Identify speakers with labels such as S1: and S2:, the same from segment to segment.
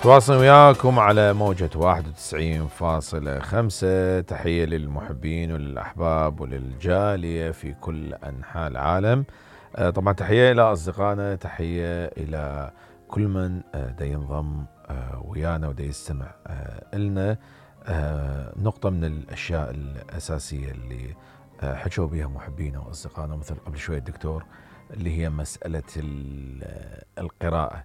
S1: تواصل وياكم على موجة 91.5. تحية للمحبين وللأحباب وللجالية في كل أنحاء العالم. طبعا تحية إلى أصدقائنا، تحية إلى كل من دا ينضم ويانا ودا يستمع إلنا. نقطة من الأشياء الأساسية اللي حكوا بها محبينا وأصدقائنا مثل قبل شوية الدكتور، اللي هي مسألة القراءة.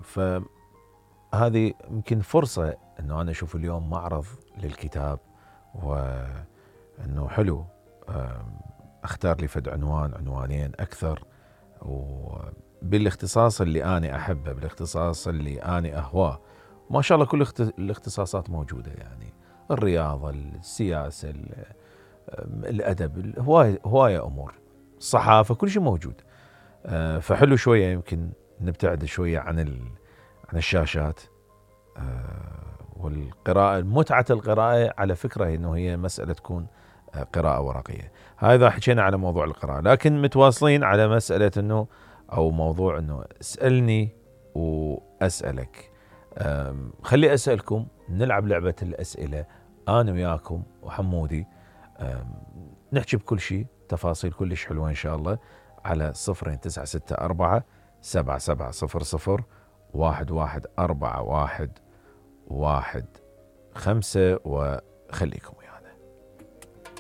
S1: فهذه يمكن فرصة أنه أنا أشوف اليوم معرض للكتاب، وأنه حلو أختار لي فد عنوانين أكثر، وبالاختصاص اللي أنا أحبه، بالاختصاص اللي أنا أهواه. ما شاء الله كل الاختصاصات موجودة، يعني الرياضة، السياسة، الأدب، هواية أمور، الصحافة، كل شيء موجود. فحلو شوية يمكن نبتعد شوية عن الشاشات والقراءة. متعة القراءة على فكرة إنه هي مسألة تكون قراءة ورقية. هذا حكينا على موضوع القراءة، لكن متواصلين على مسألة إنه أو موضوع إنه اسألني وأسألك. خلي أسألكم، نلعب لعبة الأسئلة أنا وياكم وحمودي، نحكي بكل شيء، تفاصيل كلش حلوة إن شاء الله، على 0964 7700 114115. وخليكم